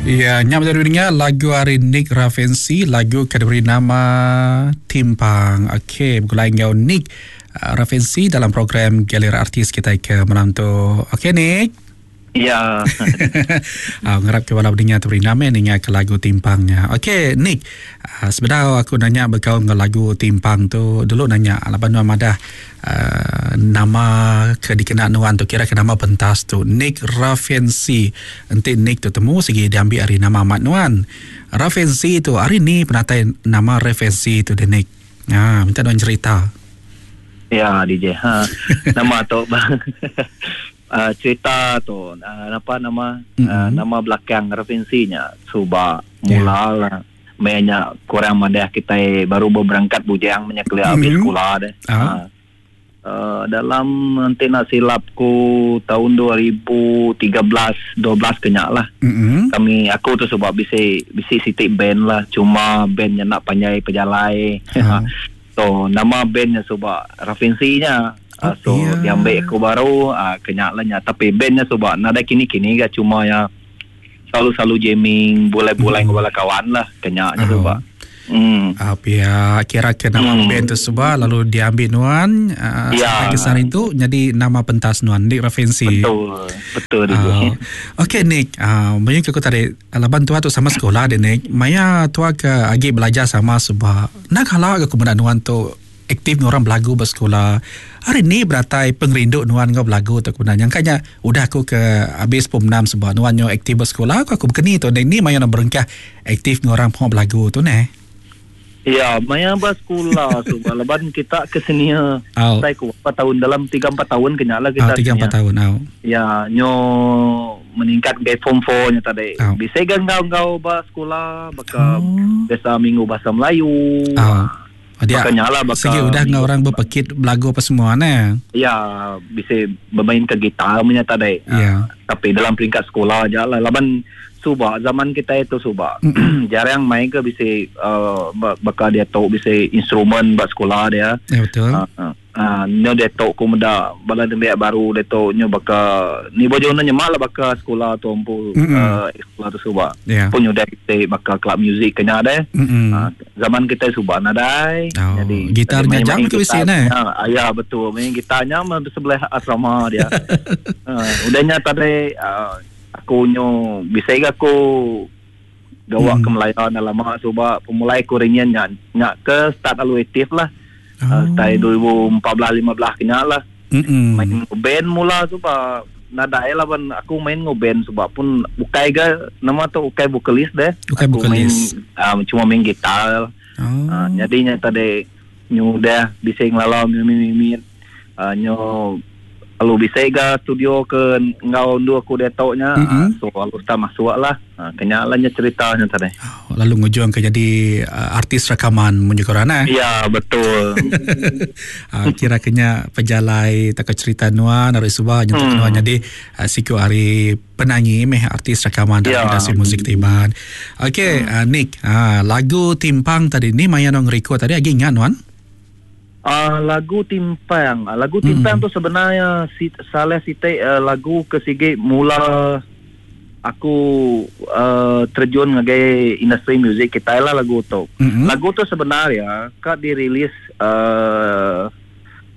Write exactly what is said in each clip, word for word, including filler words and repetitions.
Ya, nyam dari dengar lagu hari Nick Ravensi, lagu ke diberi nama Timpang. Okey, bergulai dengan Nick uh, Ravensi dalam program Galeri Artis kita ke malam tu. Okey, Nick. Ya. uh, ngarap ke bala dengar tu beri nama ninga ke lagu Timpangnya. Okey, Nick. Uh, sebenarnya aku nanya berkaul dengan lagu Timpang tu dulu nanya laban nuan madah uh, nama ke dikenal nuan tu kira ke nama pentas tu Nick Ravensi. Enti Nick tu temu segi diambil hari nama amat nuan. Ravensi tu hari ni penatai nama Ravensi tu de Nick. Ha, minta nuan cerita. Ya, D J. Ha, nama tu Uh, cerita tu uh, apa nama mm-hmm. uh, nama belakang referensinya suba mula yeah. lah mainnya kurang madah kita baru berangkat bujang menyekelia mm-hmm. habis sekolah deh. Uh. Uh, uh, dalam nanti nak silapku tahun dua ribu tiga belas dua belas kenyak lah. Mm-hmm. Kami aku tu sebab bisi bisi sitik band lah, cuma bandnya nak panjai pejalai. Uh. So nama bandnya sebab referensinya. Oh, so yeah. diambil aku baru uh, kenyak lah nya. Tapi bandnya sebab nada kini-kini gak cuma ya selalu-selalu jamming boleh-boleh mm. dengan kawan lah kenyaknya oh. sebab. Hmm. Ah, pihak kira ke nama hmm. band tu sebab lalu diambil nuan uh, ya. sampai ke sana itu jadi nama pentas nuan Nick Ravensi. Betul, betul. Uh, Okey Nick, uh, banyak aku tadi laban tua tu sama sekolah deh Nick. Maya tua ke agi belajar sama sebab nak halak aku menak nuan tu aktif orang belagu bersekolah. Hari ni beratai pengerindu nuan ngau belagu tu kebenaran. Yang kanya udah aku ke habis pom enam sebab nuan nyo aktif bersekolah aku aku berkeni tu. Ni maya nak berengkah aktif orang pun belagu tu neh. Ya, maya bersekolah sebab leban kita ke sini oh. saya ku empat tahun dalam tiga empat tahun kenyala kita. Oh, tiga empat tahun oh. Ya, nyo meningkat ke form four nya tadi. Oh. Bisa gangau gangau bersekolah baka oh. biasa minggu bahasa Melayu. Oh. Dia lah baka segi udah ngau orang berpekit belagu apa semua ne. Ya, bisa bermain ke gitar punya tadi. Ya. Uh, tapi dalam peringkat sekolah aja lah. Laban suba zaman kita itu suba. Jarang main ke bisa uh, baka dia tahu bisa instrumen buat sekolah dia. Ya betul. Uh, uh, uh, nyo dia tahu ku muda bala nembiak baru dia tahu nyo baka ni bojo nyo nyemak lah baka sekolah tu empu uh, sekolah tu suba. Yeah. Pun nyo dia kita baka club music kena deh. Uh, zaman kita suba nadai. Oh, jadi gitarnya jam ke bisi ne. Uh, ya betul, main gitarnya sebelah asrama dia. uh, udahnya tadi uh, aku nyo bisa aku gawak hmm. ke Melayu dah lama suba pemulai aku ringan nyak nyak ke start alu aktif lah. Oh. Uh, start dua ribu empat belas lima belas kenyak lah. Mm-mm. Main band mula suba nadai lah ban aku main ngo band sebab pun ukai ga nama tu ukai vokalis deh. Ukai aku vokalis. Main, uh, cuma main gitar. Oh. Uh, jadinya tadi nyu dah bisa ngelalau mimit-mimit uh, nyu lalu bisa ga studio ke ngau dua aku dia taunya mm-hmm. uh, so lalu start masuk lah uh, kenyalanya ceritanya tadi. Oh, lalu ngujuang ke jadi uh, artis rakaman munjuk orang eh? Ya betul. uh, kira kenya pejalai tak cerita nuan dari subah nyentuh hmm. nuan jadi uh, siku hari penyanyi meh artis rakaman dalam ya. industri muzik Tiban. Okey hmm. uh, Nick, uh, lagu Timpang tadi ni maya nong record tadi agi ingat nuan? Uh, lagu Timpang, lagu Timpang mm. tu sebenarnya si, salah siti uh, lagu ke sige mula aku uh, terjun ngagai industri muzik kita lah lagu tu. Mm-hmm. Lagu tu sebenarnya kat dirilis uh,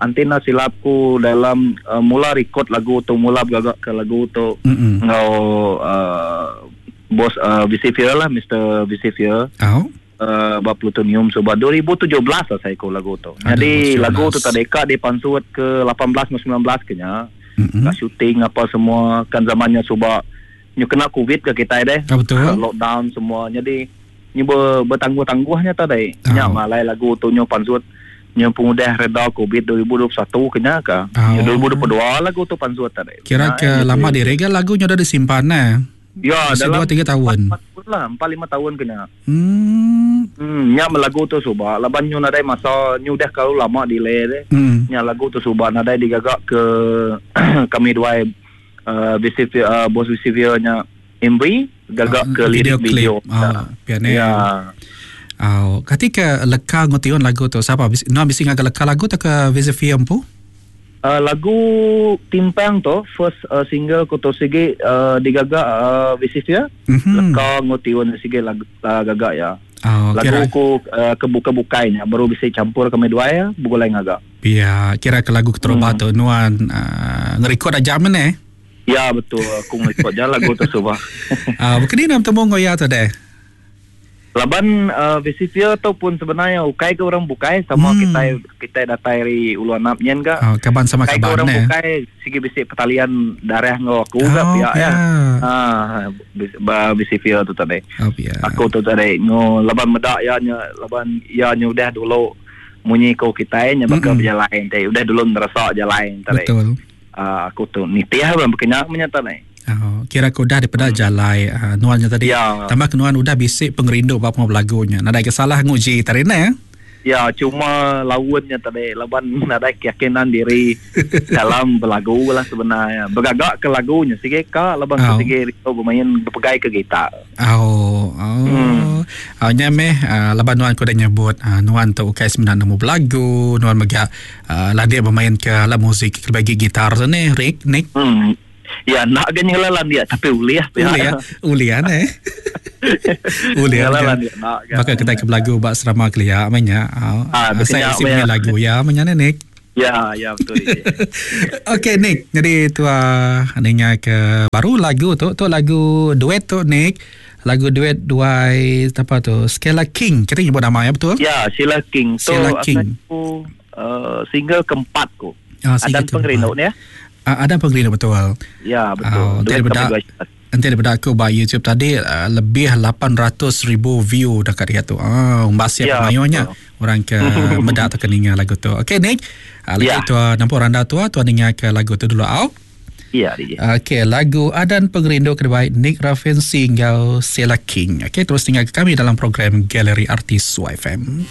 antena silapku dalam uh, mula record lagu tu, mula bergagak ke lagu tu mm-hmm. ngau uh, bos uh, Visifier lah, Mister Visifier. Oh. Uh, bab plutonium sebab dua ribu tujuh belas lah saya ikut lagu tu. Jadi lagu tu tadi kak dipansut ke lapan belas ke sembilan belas kenya. Mm-hmm. Kat syuting apa semua kan zamannya sebab nyu kena covid ke kita deh. Ah, betul. Lockdown semua. Jadi nyu ber, bertangguh-tangguhnya tadi. Oh. Nya malai lagu tu nyu pansut nyu pengudah reda covid dua ribu dua puluh satu kenya ke. Oh. dua ribu dua puluh dua lagu tu pansut tadi. Kira Nah, ke lama diregal lagu nyu dah disimpan nah. Ya, Masih dalam dua tiga tahun. empat tahun lah, empat lima tahun kena. Hmm. Hmm, nya lagu tu subah laban nyu nadai masa nyu dah kalau lama delay deh. Hmm. Nya lagu tu subah nadai digagak ke kami dua uh, V C V uh, bos V C V nya M V gagak Ah, ke lirik video video. clip. Ah, piano. Ya. Oh, ketika leka ngotion lagu tu siapa? Nuan bisi ngaga leka lagu tu ke V C V empu? Uh, lagu Timpang tu first uh, single ku tu sigi uh, digaga uh, Visifia. Mm-hmm. Leka ngotiun sigi lagu uh, gaga ya. Oh, lagu kira... ku uh, kebuka-bukainya baru bisa campur kami dua ya bugulai ngaga. Ya, kira ke lagu keterubah hmm. tu nuan uh, ngerekod aja mana? Ya betul, aku ngerekod je lagu tu subah. Ah, uh, bukan ni nak temu ngoya tu deh. Laban uh, Visifia tu pun sebenarnya ukai ke orang bukai sama hmm. kita kita datai dari Ulu Anap nyen ga. Oh, kaban sama ukai kaban ke orang ne. Bukai sigi bisi pertalian darah ngau aku oh, ga pihak ya. Ah, Visifia tu tadi. Oh, ya. Aku tu tadi ngo laban medak ya nya laban ya nya udah dulu munyi ko kita nya bakal berjalan tadi udah dulu ngerasa jalan tadi. Betul. Uh, aku tu nitih bang berkenyak menyata ni. Oh, kira aku udah daripada hmm. jalai uh, nuannya tadi. Ya. Tambah kenuan udah bisik pengerindu bab mau lagunya. Nadai kesalah nguji tadi ne. Ya, cuma lawannya tadi laban nadai keyakinan diri dalam berlagu lah sebenarnya. Bergagak ke lagunya sikit ka laban oh. sikit rindu bermain berpegai ke gitar. Oh, oh. Hmm. Oh, nya meh uh, laban nuan ku dah nyebut uh, nuan tu ukai sembilan nemu belagu, nuan mega uh, lah dia bermain ke alat muzik bagi gitar tu ni, Rick, Nick. Hmm. Ya nak kan nyelalan dia tapi uliah uliah uliah ne uliah nyelalan dia nak kan. Bakal kita ke belagu bak serama kelia menya ah saya isi punya lagu ya menya ne Nick. Ya ya betul. Okey Nick, jadi tua ninga ke baru lagu tu tu lagu duet tu Nick. Lagu duet duai apa tu Skela King. Kita nyebut nama ya betul? Ya, Sheila King tu Sheila King. Aku uh, single keempat ku. Ah, Adan Pengerindu ni ya. Uh, ada pengerindu betul. Ya betul. Oh, nanti daripada, nanti daripada aku by YouTube tadi uh, lebih lapan ratus ribu view dekat dia tu. Ah, oh, mbak siap ya, mayunya orang ke medak atau keninga lagu tu. Okey Nick, uh, lagi ya. tua nampak randa tua tua ninga ke lagu tu dulu au. Ya, D J. Okey, lagu Adan Pengerindu kedua Nick Rafensi ngau Sheila King. Okey, terus tinggal ke kami dalam program Galeri Artis Y F M.